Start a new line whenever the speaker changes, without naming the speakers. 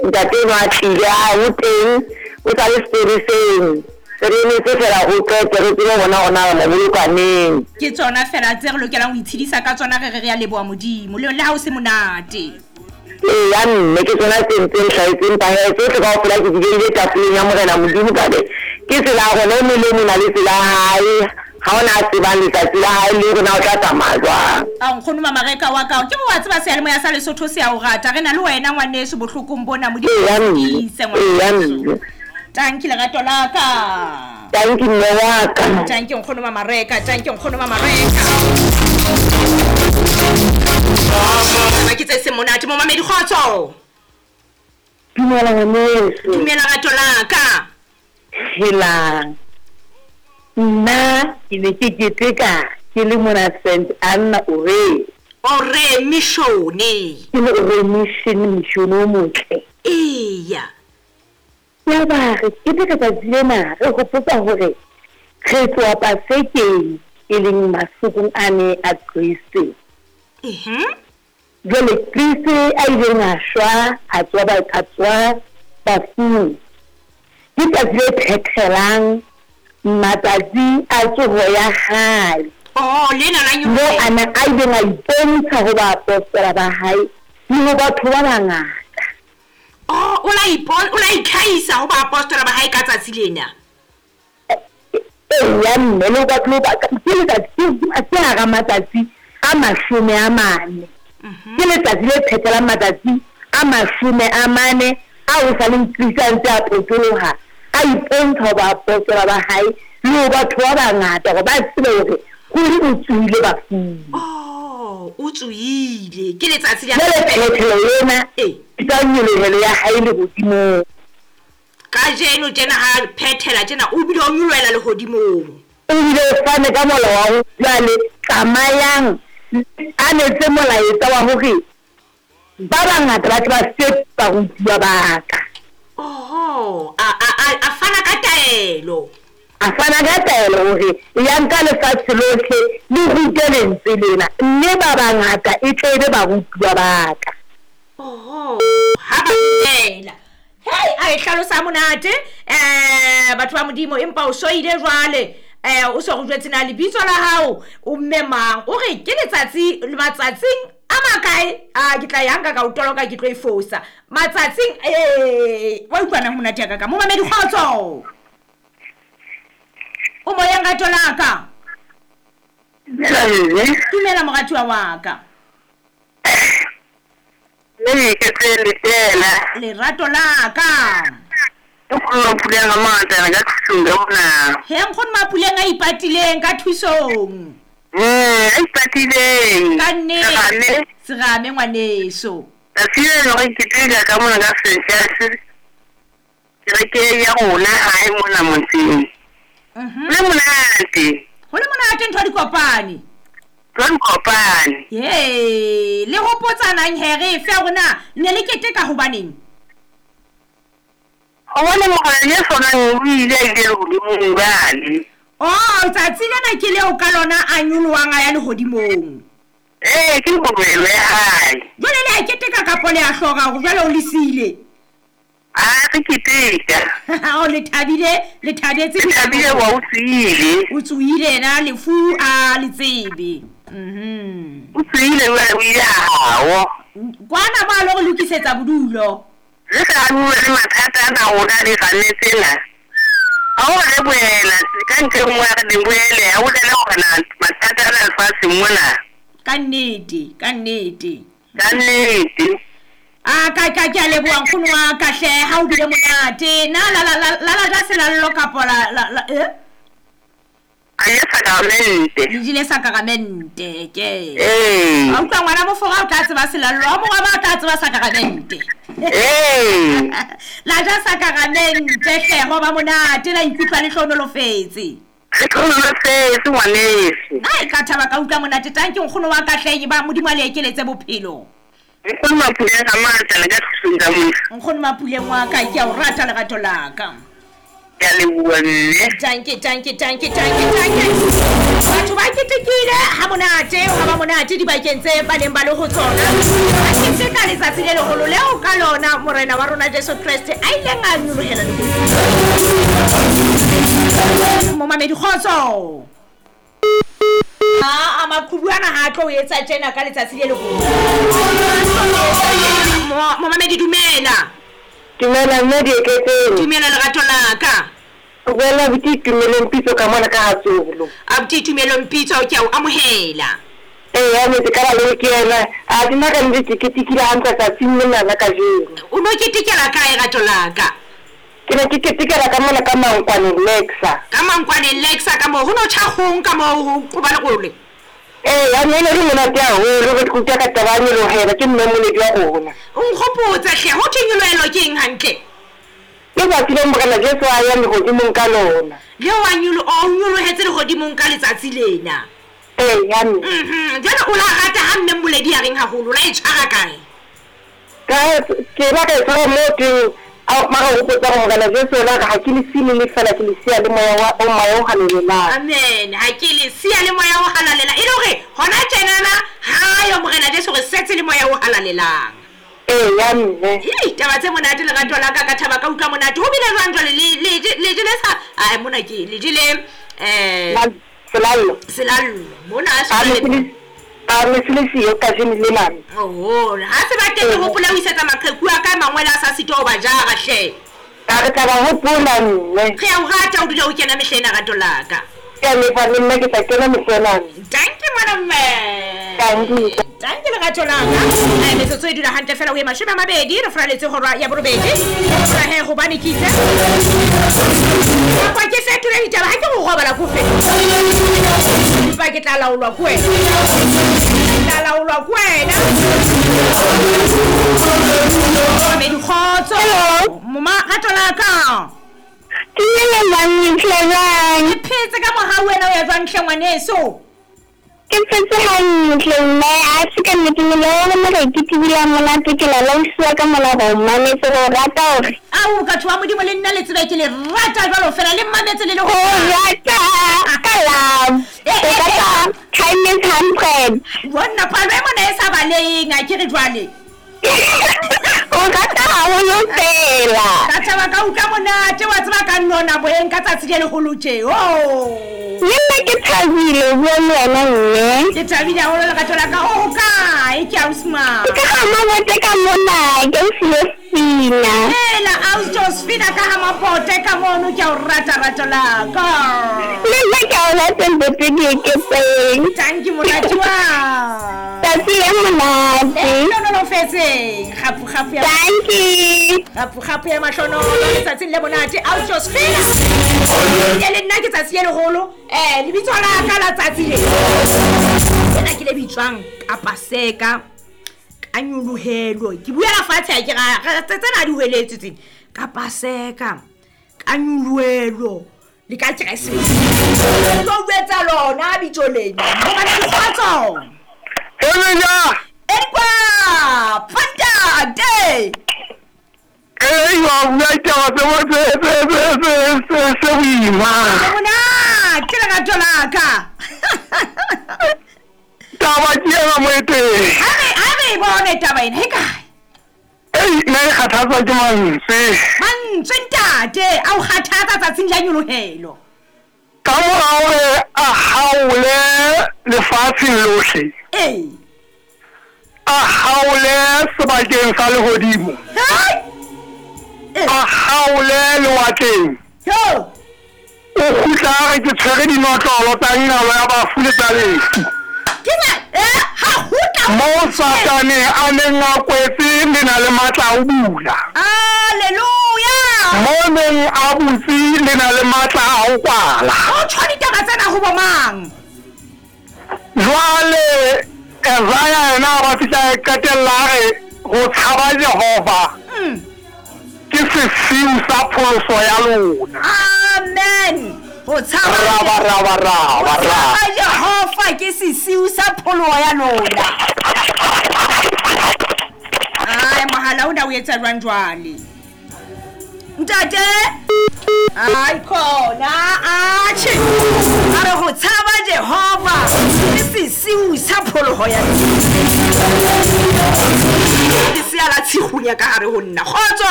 Ntate enwa a tlile, a o teng, o sa le seporeseng. Re emetse feela ho qete re tsebe ho bona hore na re mo boloka neng.
Ke tsona feela tse re lokelang ho itshedisa ka tsona re re re a leboha Modimo, le le ha ho se monate.
Eya mme, ke tsona tse ntseng hlahetse empa hee tsohle kaofela ke di beile tafoleng ya Morena Modimo ka be ke tsela ya rona e mong le e mong o na le tsela ya hae, ha hona a tsebang letsatsi la hae le hore na o tla tsamaya jwang.
Ao nkgono Mamareka wa ka, ke re wa tseba seyalemoya sa Lesotho se a o rata, re na le wena ngwaneso bohlokong bona, Modimo a
Eya
o
mme,
tiise
eya
ngwaneso.
mme.
Tanki lerato la ka.
Tanki mme wa ka.
Tanki nkgono Mamareka, tanki nkgono Mamareka. Taba ke tse seng monate momamedi kgotso.
Dumela ngwaneso.
Dumela rato la ka.
Helang. Nna ke ne ke keteka ke le mona St Anna Ore.
Ore Mission.
Ke le Ore Mission, mission o motle.
Eya.
Yaba re keteka tsatsi lena re hopotsa hore re tloha Pasekeng e leng mahlokong ane a Kreste. Jwale Kreste a ileng a shwa a tsoha a tsoha bafung. Ke tsatsi le phethelang matsatsi a tsoho ya hae.
Oh, lena la
Moo
nyoloha.
a na a ileng a ipontsha ho baapostola ba hae le ho batho ba bangata.
Oh, o la ipon, o la itlhahisa ho baapostola ba hae ka tsatsi lena.
Eya mme, le ho batho ba ke letsatsi ke hara matsatsi a 40. Ke letsatsi le phethelang matsatsi a 40 a ho sa leng Kriste a ntse a potoloha, a ipontsha ho baapostola ba hae le ho batho ba bangata hore ba tsebe hore ruri o tsohile bafung.
Oh, o tsohile. Ke letsatsi la
Jwale phethelo ena
Ee.
ke tsa nyolohelo ya hae lehodimong.
Kajeno tjena ha phethela tjena o bile o nyolohela lehodimong.
O bile o fane ka molao wa hore jwale tsamayang a netse molaetsa wa hore ba bangata ba tle ba fetohe barutuwa ba ka.
Oho, a a a a fana ka taelo.
A fana ka taelo hore yang ka lefatshe lohle le rute lentswe lena, mme ba bangata e tle e be barutuwa ba ka.
Oho, ha ba dumela. Hei, a e hlalosa monate batho ba Modimo empa o soile jwale o so re jwetse na lebitso la hao o mme mang o re ke letsatsi matsatsing a makae a ke tla ya nka ka o toloka ke tlo e fosa matsatsing wa utlwana monate ya ka ka momamedi kgotso o moyeng rato la ka.
Dumela mme.
Dumela moratuwa wa ka.
Mme ke tse letela.
Lerato la ka.
Nkgono Mapuleng a mangata ka thusong ka mona.
He nkgono Mapuleng a ipatileng ka thusong.
A ipatileng.
Ka nnete. Serame ngwaneso.
Tsatsi le leng re keteka ka mona ka St. Kereke ya rona hae mona motseng. Le monate.
Ho le monate ntho di kopane.
Ntho di kopane.
Ye, le hopotsanang he re fe rona ne le keteka hobaneng?
Hobane Morena Jesu o nang o ile a ile lehodimong jwale.
Oh, tsatsi lena ke leo ka lona a nyolohang a ya lehodimong.
Ee, ke nyolohelo ya hae.
Jwale le a keteka kapo le a hloka hore jwale o le siile?
A re keteka.
O le thabile, le thabetse.
Le thabile wa o tsohile.
O tsohile yena lefu a le tsebe.
O tsohile jwale o ile hao.
Kwana ba lo re lokisetsa bodulo.
Re sa bue le mathata ana rona le gane tsena. Ha o re boela ka ntle nngwe ya re di boele, ha o tlele hore na mathata ana lefatsheng mona.
Ka nnete, ka nnete.
Ka nnete.
A ka ka ke a leboha nkgono wa ka hle ha o bile monate. Na la la la la la ja selallo kapo la la la eh?
A je sakramente.
Le jele sakramente ke.
Ee.
A utlwa ngwana mofora o tla tseba selallo, a mongwe ba tla tseba sakramente.
Ee.
La ja sakramente hle ho ba monate la ikutlwa le hlohonolofetse.
Le hlohonolofetse ngwaneso.
Ai ka thaba ka utlwa monate tanki nkgono wa ka hle ba Modimo a le ekeletse bophelo.
Nkgono Mapuleng a matla le ka thusong ka mona.
Nkgono Mapuleng wa ka ke a o rata lerato la ka.
Ke a leboha mme.
Tanke, tanke, tanke, tanke, tanke. Batho ba ketekile ha monate, ha ba monate dibakeng tse ba neng ba le ho tsona. Ba keteka letsatsi le leholo leo ka lona Morena wa rona Jesu Kreste a ileng a nyolohela lehodimong. Momamedi kgotso. Aa, maqhubu ana ha a tlo o etsa tjena ka letsatsi le leholo. Momamedi dumela.
Dumela mme Dieketseng.
Dumela lerato la ka.
O bua le abuti Itumeleng Pitso ka mona ka Hatsolo.
Abuti Itumeleng Pitso ke a o amohela.
Eya metse ka baloi ke yena. A ke nna ka nnete ke ketekile hantle tsatsing lena la kajeno.
O no ketekela kae rato la ka?
Ke ne ke ketekela ka mona ka Mankwane Lexa.
Ka Mankwane Lexa ka moo ho no tjha kgong ka moo ho qoba lerole.
Eya, mme e ne e le monate haholo re utlwa ka taba ya nyolohelo ke mme moledi wa rona.
O nkgopotse hle, ho thwe nyolohelo ke eng hantle?
Ke tsatsi leo Morena Jesu a yang lehodimong ka lona.
Leo a nyolo, o nyolohetse lehodimong ka letsatsi lena.
Eya, mme.
Mhm, jwale o la rata ha mme Mmoledi a reng haholo, o la e tshwara kae?
Ka, ke la ka e tshwara moo teng, a mara o hopotsa hore Morena Jesu o la re, ha ke le siye le le feela, ke le siya le Moya wa, o Moya o Halalelang.
Amen, ha ke le siya le Moya o Halalelang. E le hore hona tjenana ha yo Morena Jesu re setse le Moya o Halalelang.
Eya, mme.
Hei, taba tse monate lerato la ka, ka thaba ka utlwa monate. Ho bile jwang jwale le, le, le jele sa, ae mona ke, le jele, eh.
Selallo.
Selallo. Mona a
se le. A ne se le siyo kajeno lena.
Oho, ha se ba teng ke hopola ho isetsa maqheku a ka mangwele a sa sitwa ho ba jara hle.
A re tla ba hopola mme.
Re a o rata o dula o kena mehla ena rato la ka.
Ke a leboha le nna ke tla kena mehla ena.
Dankie ngwana mme.
Dankie.
Dankie lerato la ka. Eh, metsotso e dula hantle fela o ye 20 re furaletse hora ya borobedi. Hopola he hobane ke itse. Kapa ke fetole ditaba ha ke go robala ko fetole. Empa ke tla laolwa ke wena. Ke tla laolwa ke wena. Mamedi kgotso.
Hello.
Moma rato la ka.
Dumela mami, hle jwang?
Ke phetse ka mohau wena o ya jwang hle ngwaneso?
Ke phetse hantle mme, a se ka nnete mmele wa rona re ketekile ha monate ke la lausiwa ka mona re o mametse re o rata hore.
Ao batho ba Modimo le nna le tsebe ke le rata jwalo fela le mmametse le le
ho rata ka love.
Eh,
Re
eh, eh.
rata times 100.
Jonna palo e mona e sa baleheng a ke re jwale.
O rata haholo fela.
Ka thaba ka utlwa monate wa tseba ka nona boyeng ka tsatsi le leholo tje. Oh.
Le nna ke thabile ho bua le wena mme.
Ke thabile haholo lerato la ka. O hokae ke ausi mang?
Ke ka ha Mabote ka mona ke ausi Josefina.
Hela ausi Josefina ka ha Mabote ka mono ke a o rata rato la ka.
Le nna ke a o rata ntate Dieketseng.
Tanki moratuwa.
Tsatsi le monate.
Le hlohonolofetseng. Kgapu kgapu ya.
Tanki.
Kgapu kgapu ya mahlonolo letsatsing le monate ausi Josefina. Ke le nna ke tsatsi le leholo. Eh lebitso la ka la tsatsi le. Lena ke le bitswang ka Paseka. Ka nyolohelo. Ke buela fatshe ha ke ra tsena di hweletse tsena. Ka Paseka. Ka nyolohelo. Le ka Keresemese. Ke tlo jwetsa lona bitso lena. Hobane dikgotso.
Emeja.
Edikwa. Fantate.
Ei, wa bua ditaba tse tse tse tse tse tse boima.
Monate lerato la ka.
Taba ke ena moeteng.
Ha re e bone taba ena, he kae?
Ei, nna e kgathatswa ke mantswe.
Mantswe ntate, a o kgathatsa tsatsing la nyolohelo.
Ka mora hore a haole lefatsheng lohle.
Ee.
A haole sebakeng sa lehodimo.
Hai!
A haole lewatleng.
Yo!
O kgutla a re ke tshwere dinotlolo tsa nqalo ya bafu le tsa lefu.
Ke ba, eh, ha kgutla.
Moo Satane a neng a kwetse le na le matla a ho bula.
Hallelujah!
Mo neng a butse le na le matla a ho kwala.
O tjho ditaba tsena ho bo mang?
Jwale Isaiah yena a ba fihla a qetella a re ho tshaba Jehova ke sesiu sa pholoso ya lona.
Amen. Ho tshaba
Raba raba raba
ho
raba.
tshaba Jehova ke sesiu sa pholoho ya lona. Ai mohala ona o etsa jwang jwale? Ntate. Ai khona atjhe a re go tshaba Jehova ke sesiu sa phologo ya lesea la tshigunya ka gare go nna. Kgotso.